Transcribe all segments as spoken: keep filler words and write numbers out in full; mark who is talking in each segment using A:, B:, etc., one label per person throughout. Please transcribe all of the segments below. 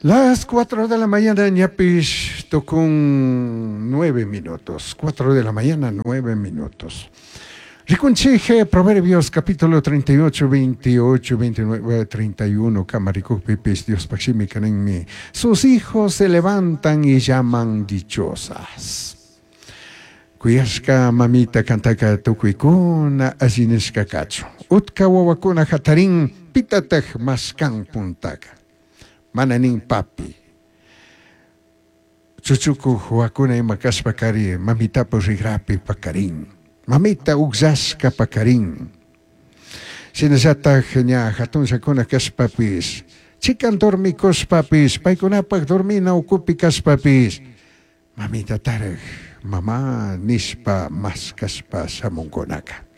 A: Las cuatro de la mañana, ñapish tukun nueve minutos. Cuatro de la mañana, nueve minutos. Ricunchije, Proverbios capítulo treinta y ocho, veintiocho, veintinueve, treinta y uno, kama rikukpipis Diospaj shimika ninmi: "Sus hijos se levantan y llaman dichosas". Kuyashka mamita, kantaka tukuykuna alli nishka kachun. Utka wawakuna hatarin, pitataj mashkan puntaka? Mana nin papi. Chuchukuj wawakuna ima kashpa kari mamitapu rigrapi pakarin. Mamita ugllashka pakarin. Shinallataj ña hatunllakuna kashpapis, chikan dormikushpapis, paykunapaj dormina ukupi kashpapis, mamita tarik mama nishpa mashkashpa shamunkunaka.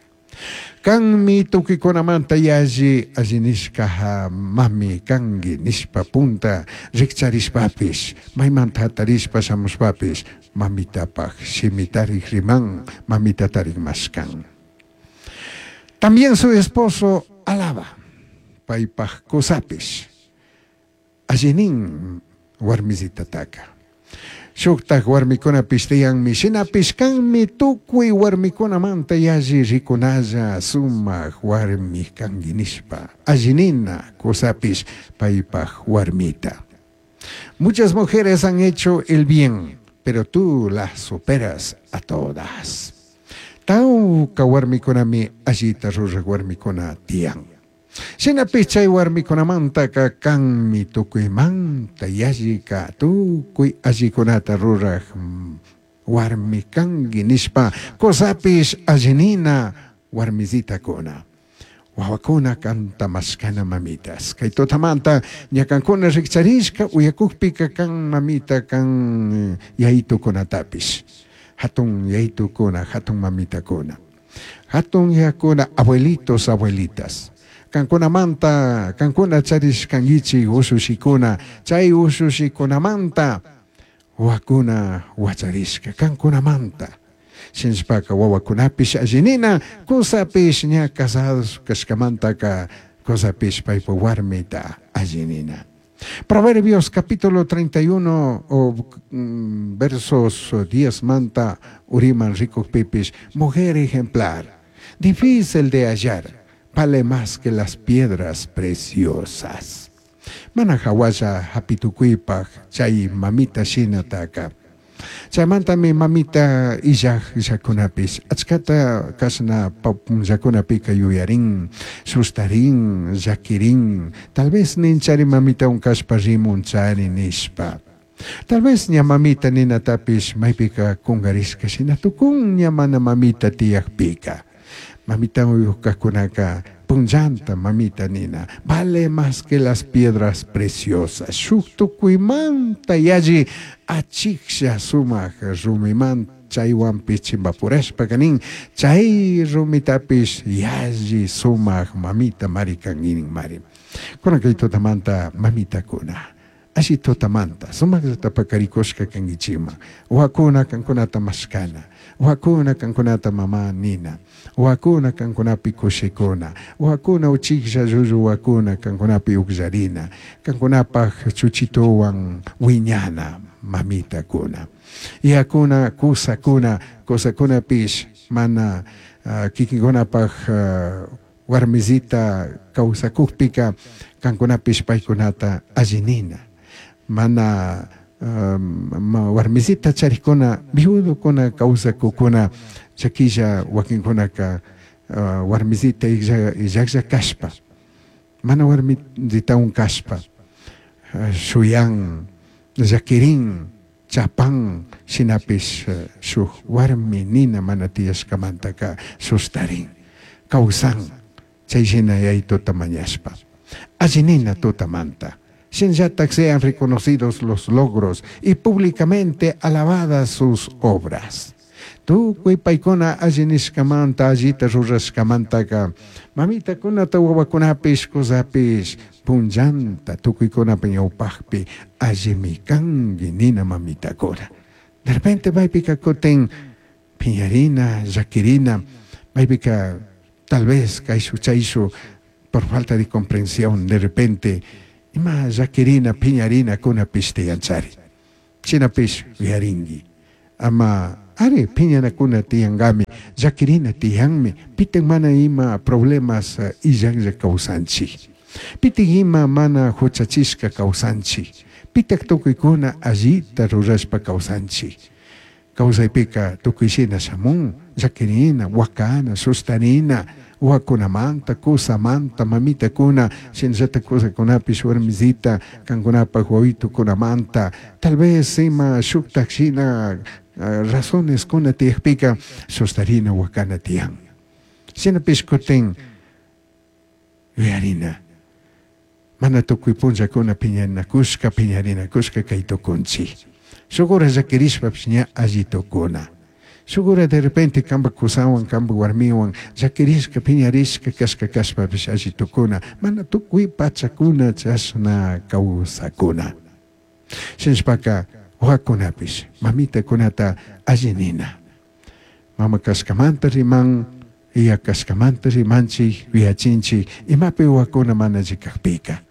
A: Kanmi tukuykunamanta yalli alli nishka mami kanki nishpa punta rikcharishpapis, maymanta hatarishpa shamushpapis, mamitapaj shimitarik riman, mamitatarik mashkan. También su esposo alaba, paypaj kusapish allinin warmisitataka. Shuktaj warmikunapish tiyanmi, shinapish kanmi tukuy warmikunamanta yalli rikunalla sumak warmi kanki nishpa allinina kusapish paypaj warmita. Muchas mujeres han hecho el bien, pero tú las superas a todas. Tawka warmikunami allita ruraj warmikuna tiyan. Shinapish chay warmikunamantaka kanmi tukuymanta yallika tukuy allikunata ruraj warmi kanki nishpa kusapish allinina warmisitakuna. Wawakuna kanta mashkana, mamitas. Kay tutamanta ñakankuna rikcharishka uyakukpika kan mamita, kan yayitukunatapish. Hatun yayitukuna, hatun mamitakuna. Hatun yakuna, abuelitos, abuelitas. Kankunamanta, kankuna charishkankichik ushushikuna, chay ushushikunamanta wawakuna wacharishka kankunamanta. Shinashpaka wawakunapish allinina, kusapish ña casados kashkamantaka kusapish paypa warmita allinina. Proverbios capítulo treinta y uno o mm, versos diez manta uriman rikukpipish: "Mujer ejemplar, difícil de hallar, vale más que las piedras preciosas". Mana hawalla hapitukuypaj chay mamita shinataka. Chaymantami mamita illaj llakunapish achkata kashna punllakunapika yuyarin, sustarin, llakirin, tal vez ninchari mamitawan kashpa rimunchari nishpa. Tal vez ña mamita ninatapish maypika kungarishka shina tukun ña mana mamita tiyakpika. Mamita uyukkakunaka punllanta mamita nina vale más que las piedras preciosas. Shuk tukuymanta yalli achiklla sumak rumiman chaywanpish chimpapurashpa nin chay rumitapish yalli sumak mamita mari kanki mari. Kunan kay tutamanta, mamitakuna, alli tutamanta sumakllata pakarikushka kankichikman. Wawakuna kankunata mashkana, wawakuna kankunata mama nina, wawakuna kankunapi kushikuna, wawakuna uchiklla llullu wawakuna kankunapi ukllarina, kankunapaj chuchituwan wiñana mamitakuna. Yakuna kusakuna, kusakunapish mana uh, kikinkunapaj uh, warmisita kawsakukpika kankunapish paykunata allinina. Mana um, warmisita charikuna, viudokuna kawsakukuna chakilla wakinkunaka uh, warmisita illaklla kashpa, mana warmisitawan kashpa, uh, shuyan, llakirin, chapan, shinapish uh, shuk warmi nina mana tiyashkamantaka sustarin, kawsan, chay shina yayituta mañashpa. Allinina tutamanta. Shinallatak sean reconocidos los logros y públicamente alabadas sus obras. Tukuy paykuna alli nishkamanta, allita rurashkamantaka, mamitakunata wawakunapish kusapish punllanta tukuykunapa ñawpakpi allimi kanki nina mamitakuna. De repente maypika kutin piñarina, llakirina, maypika tal vez kayshu chayshu por falta de comprensión de repente Ima llaquirina piñarina kunapish tiyanchari. Shinapish uyarinki. Ama ari piñanakuna tiyankami, llaquirina tiyanmi, pitik mana ima problemas illanlla kawsanchik. Pitik ima mana huchachishka kawsanchik. Pitak tukuykuna allita rurashpa kawsanchik. Kawsaypika tukuyshina shamun, llaquirina, wakana, sustarina, wakunamanta, kusamanta, mamitakuna, shinallata kusakunapish warmisita, kankunapak wawitukunamanta, tal vez ima shuktak shina razones kuna tiyakpika sustarina wakana tiyan. Shinapish kutin yuyarina. Mana tukuy punllakuna piñanakushka, piñarinakushka kay tukunchik. Shuk hora llakirishpapish ña alli tukuna. Shuk hora de repente kanpak kusawan, kanpak warmiwan llakirishka, piñarishka kashka kashpapish alli tukuna. Mana tukuy pachakuna chashna kawsakuna. Shinashpaka wawakunapish mamitakunata alli nina. Mama kashkamanta riman, iya kashkamanta rimanchik, yuyachinchik, imapi wawakuna mana alli kakpika.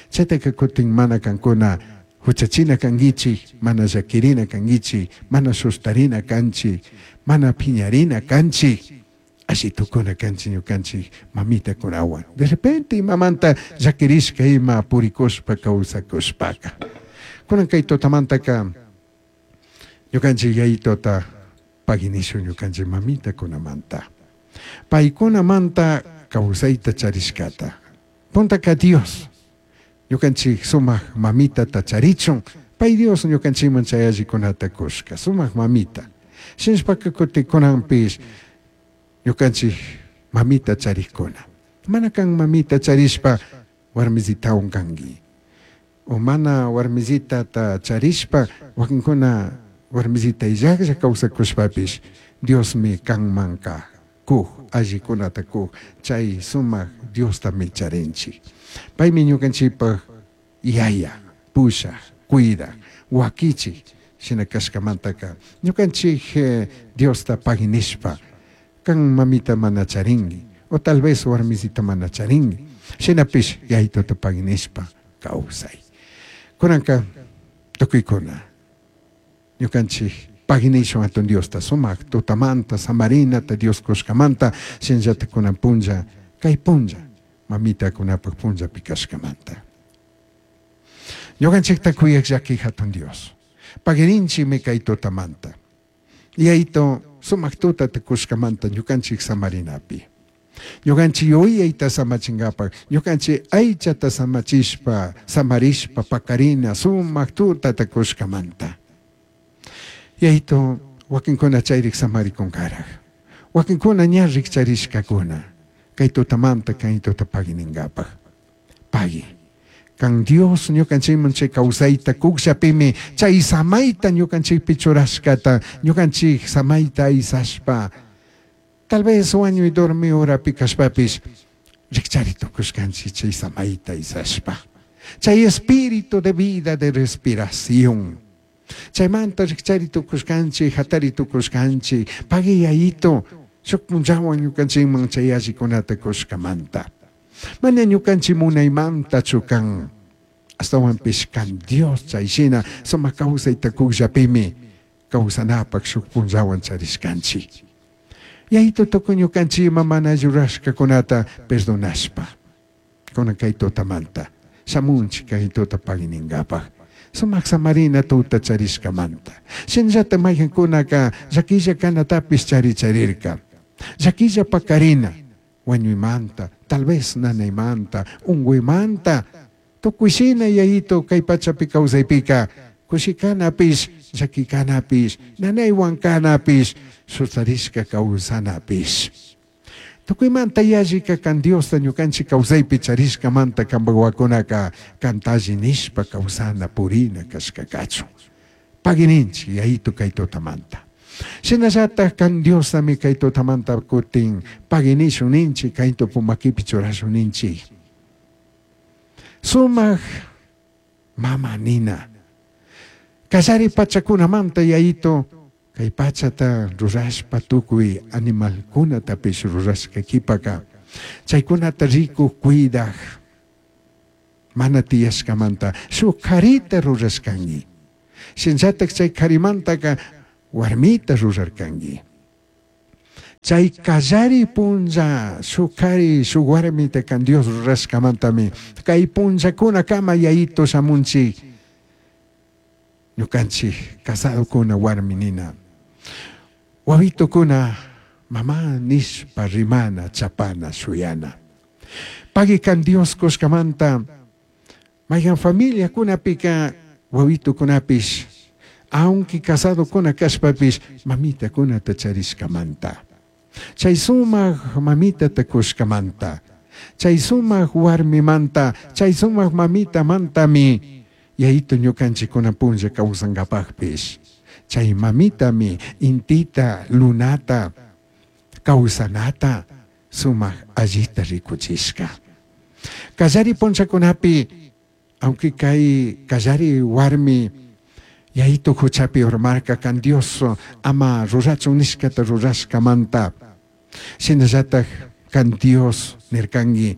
A: Chaytaka kutin mana kankuna huchachina kankichik, mana llakirina kankichik, mana sustarina kanchik, mana piñarina kanchik, alli tukuna kanchik ñukanchik mamitakunawan. De repente imamanta llakirishka ima purikushpa kawsakushpaka. Kunan kay tutamantaka ñukanchik yayituta paginishun ñukanchik mamitakunamanta. Paykunamanta kawsayta charishkata. Puntaka Dios. Ñukanchik sumak mamitata charichun, pay Dios ñukanchikman chay allikunata kushka, sumak mamita. Shinashpaka kutin kunanpish ñukanchik mamita charikuna. Mana kan mamita charishpa warmisitawan kanki. O mana warmisitata charishpa wakinkuna warmisita illaklla kawsakushpapish Diosmi kanmanka kuj, allikunata kuj, chay sumak Diostami charinchik. Paymi ñukanchikpak yaya, pushak, cuidak, wakichik, shina kashkamantaka ñukanchik Diosta paginishpa kan mamita mana charinki, o tal vez warmisita mana charinki, shinapish yayituta paginishpa kawsay. Kunanka tukuykuna ñukanchik paginishun atun Diosta sumak tutamanta, samarinata Dios kushkamanta, shinallata kunan punlla, kay punlla, mamitakunapak punllapi kashkamanta. Ñukanchikta kuyak llaki hatun Dios. Pagirinchikmi kay tutamanta. Yayito sumak tutata kushkamanta ñukanchik samarinapi. Ñukanchik yuyayta samachinkapak, ñukanchik aychata samachishpa, samarishpa, pakarina, sumak tutata kushkamanta. Yayito wakinkuna chayrik samarikunkarak. Wakinkuna ña rikcharishkakuna. Kay tutamanta kay tuta pagininkapak. Pagi. Kan Dios ñukanchikman chay kawsayta kukllapimi chay samayta ñukanchikpi churashkata, ñukanchik samayta aysashpa. Tal vez wañuy dormi horapi kashpapish rikchari tukushkanchik chay samayta aysashpa. Chay espíritu de vida, de respiración. Chaymanta rikchari tukushkanchik, hatari tukushkanchik, pagi yayito, shuk punllawan ñukanchikman chay allikunata kushkamanta. Mana ñukanchik munaymantachu kan, ashtawanpish kan Dios chay shina sumak kawsayta kukllapimi kawsanapak shuk punllawan charishkanchik. Yayito tukuy ñukanchik ima mana rurashkakunata perdonashpa. Kunan kay tutamanta shamunchik kay tuta pagininkapak. Sumak samarina tuta charishkamanta. Shinallata maykankunaka llakilla kanatapish charicharirka. Llakilla pakarina, wañuymanta, tal vez nanaymanta, unguymanta, tukuy shina yayito kay pachapi kawsaypika, kushikanapish, llakikanapish, nanaywan kanapish, sustarishka kawsanapish. Tukuymanta yallika kan Diosta ñukanchik kawsaypi charishkamanta kanpak wawakunaka kantalli nishpa kawsana purina kashkakachun. Pagininchik yayito kay tutamanta. Shinallatak kan Diostami kay tutamanta kutin paginishun ninchik, kay tupumakipi churashun ninchik. Sumak mama nina. Kallari pachakunamanta yayito kay pachata rurashpa tukuy animalkunatapish rurashka kipaka chaykunata rikuj cuidak Mana tiyashkamanta shuk karita rurashkanki. Shinallatak chay karimantaka warmita rurarkanki. Chay kallari punlla shuk kari shuk warmita kan Dios rurashkamantami kay punllakunakama yayito shamunchik ñukanchik casadokuna warmi nina. Wawitukuna mama nishpa rimana chapana shuyana. Pagui kan Dios kushkamanta mayhan familiakunapika wawitukunapish aunque casadokuna kashpapish mamitakunata charishkamanta. Chay sumak mamitata kushkamanta, chay sumak warmimanta, chay sumak mamitamantami yayito ñukanchikkuna punlla kawsankapakpish. Chay mamitami intita, lunata, kawsanata sumak allita rikuchishka. Kallari punllakunapi, aunque kay kallari warmi yayito huchapi urmarka kan Dios ama rurachun nishkata rurashkamanta, shinallatak kan Dios nirkanki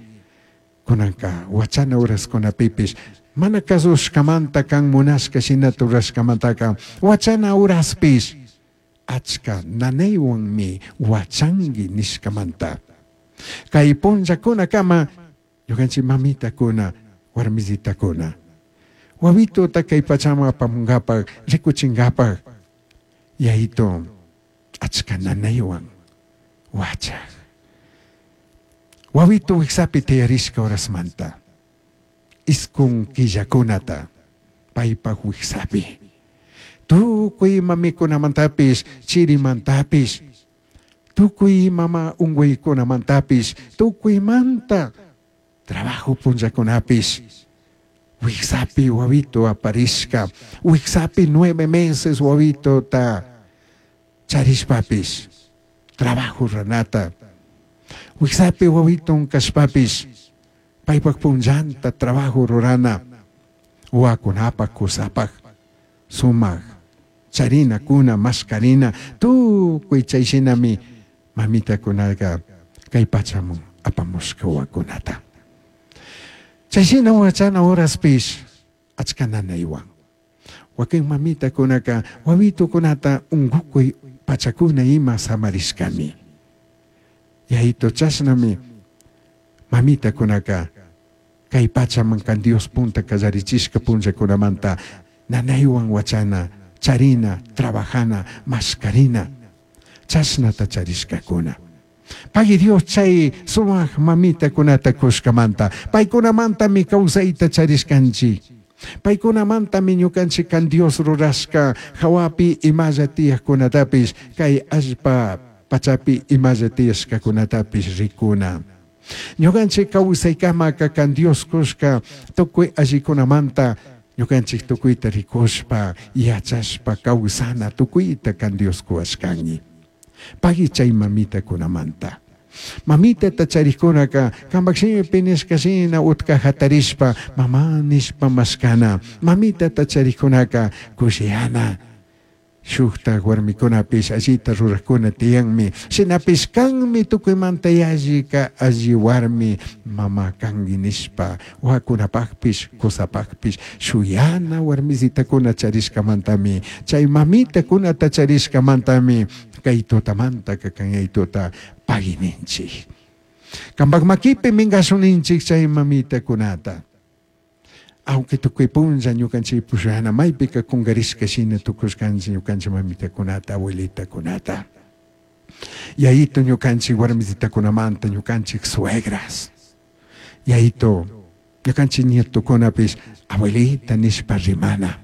A: kunanka wachana uraskunapipish mana kasushkamanta kan munashka shinata rurashkamantaka wachana uraspish achka nanaywanmi wachanki nishkamanta. Kay punllakunakama ñukanchik mamitakuna warmisitakuna wawituta kay pachaman apamunkapak rikuchinkapak yayito achka nanaywan wachak. Wawitu wiksapi tiyarishka horasmanta iskun killakunata paypak wiksapi tukuy ima mikunamantapish chirimantapish tukuy mama unquykunamantapish tukuymanta trabajo punllakunapish wiksapi wawito aparishka wiksapi nueve meses wawitota charishpapish trabajo ranata wiksapi wawiton kashpapish paypak punllanta trabajo rurana wawakunapak kusapak sumak charinakuna maskarina tukuy chayshinami mamitakunaka kay pachaman apamushka wawakunata. Chayshina wachana horaspish achka nanaywan. Wakin mamitakunaka wawitukunata unkukuy pachakuna ima samarishkami. Yayito chashnami mamitakunaka kay pachaman kan Dios punta kallarichishka punllakunamanta nanaywan wachana, charina, trabajana, maskarina, chashnata charishkakuna. Pagui Dios chay sumak mamitakunata kushkamanta, paykunamantami kawsayta charishkanchik. Paykunamantami ñukanchik kan Dios rurashka hawapi imalla tiyakkunatapish kay allpa pachapi imalla tiyashkakunatapish rikuna. Ñukanchik kawsaykamaka kan Dios kushka tukuy allikunamanta ñukanchik tukuyta rikushpa yachashpa kawsana tukuyta kan Dios kuwashkanki. Pagui chay mamitakunamanta. Mamitata charikkunaka kampak shimipi nishka shina utka hatarishpa mama nishpa mashkana. Mamitata charikkunaka kushiyana. Shukta warmikunapish allita rurakkuna tiyanmi. Shinapish kanmi tukuymanta yallika alli warmi mama kanki nishpa wawakunapakpish kusapakpish shuyana warmisitakuna charishkamantami chay mamitakunata charishkamantami kay tutamantaka kay tuta pagui ninchik. Kampak makipi minkashuninchik chay mamitakunata. Aunque tukuy punlla ñukanchik pushana maypika kunkarishka shina tukushkanchik ñukanchik mamitakunata abuelitakunata. Yayito ñukanchik warmisitakunamanta ñukanchik suegras. Yayito ñukanchik nietokunapish abuelita nishpa rimana.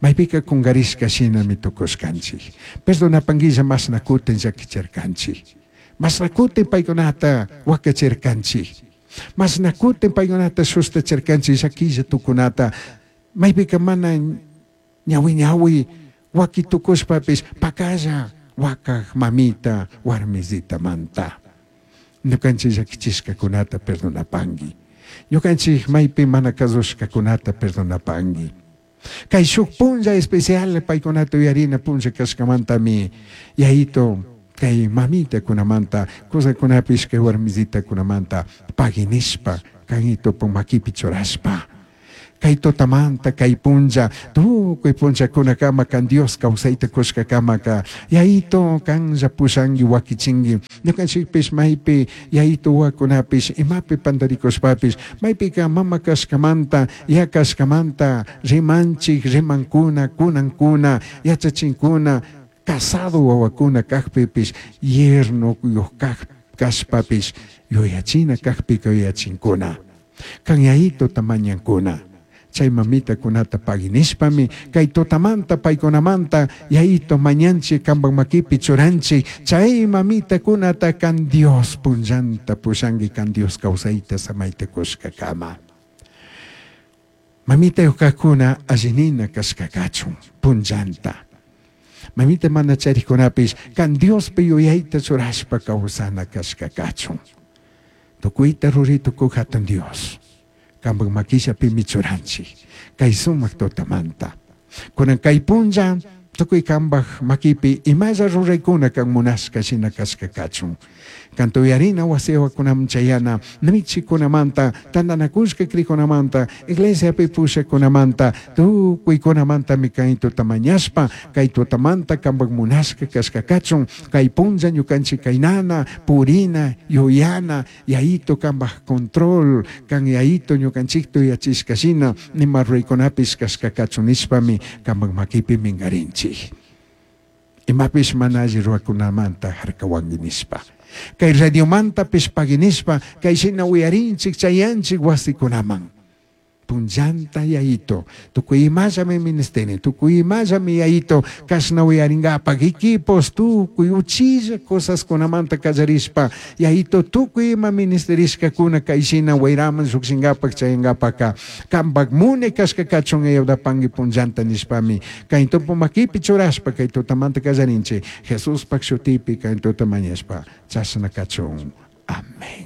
A: Maypika kunkarishka shinami tukushkanchik. Perdonapankilla mashna kutin llakichirkanchik. Mashna kutin paykunata wakachirkanchik. Mashna kutin paykunata sustachirkanchik llakilla tukunata. Maypika mana ñawi ñawi waki tukushpapish pakalla wakak mamita warmisitamanta. Ñukanchik llakichishkakunata perdonapanki. Ñukanchik maypi mana kasushkakunata perdonapanki. Kay shuk punlla especial paykunata uyarina punlla kashkamantami yayito kay mamitakunamanta kusakunapish kay warmisitakunamanta pagui nishpa kanitopak makipi churashpa Kay tutamanta kay punlla tukuy punllakunakama kan Dios kawsayta kushkakamaka Yayito kanlla pushanki wakichinki ñukanchikpish maypi Yayito wawakunapish imapi pandarikushpapish maypika mama kashkamanta ya kashkamanta rimanchik rimankuna kunankuna yachachinkuna casado wawakuna kakpipish yernuyuq kak kashpapish yuyachina kakpika yuyachinkuna kan Yayituta mañankuna chay mamitakunata paginishpami kay tutamanta paykunamanta Yayito mañanchik kanpak makipi churanchik chay mamitakunata kan Dios punllanta pushanki kan Dios kawsayta samayta kushkakama. Mamitayuq kajkuna allinina kashka kachun punllanta. Mamita mana charikunapish kan Diospi yuyayta churashpa kawsana kashka kachun. Tukuyta ruray tukuy hatun Dios. Kanpak makillapimi churanchik kay sumak tutamanta. Kunan kay punlla tukuy kanpak makipi imalla ruraykuna kan munashka shina kashka kachun. Kan tuyarina wasiwakunaman chayana michikunamanta tantanakushka krikunamanta iglesiapi pushakunamanta tukuykunamantami kay tuta mañashpa kay tutamanta kanpak munashka kashka kachun kay punlla ñukanchik kaynana purina yuyana Yayito kanpak control kan Yayito ñukanchikta yuyachishka shina nima ruraykunapish kashka kachun nishpami kanpak makipi minkarinchik. Imapish mana alli rurakunamanta harkawanki nishpa. Kay radiomantapish paginishpa kay shina uyarinchik chayanchik wasikunaman. Punllanta Yayito, tukuy imallami ministeri, tukuy imallami Yayito, kashna uyarinkapak equipos, tukuy uchilla cosaskunamanta kallarishpa, Yayito tukuy ima ministerishkakuna kay shina wayraman llukshinkapak chayankapaka, kanpak mune kashka kachun ayudapanki punllanta nishpami, kay tupu makipi churashpa kay tutamanta kallarinchik, Jesuspak shutipi kay tuta mañashpa, chashna kachun. Amén.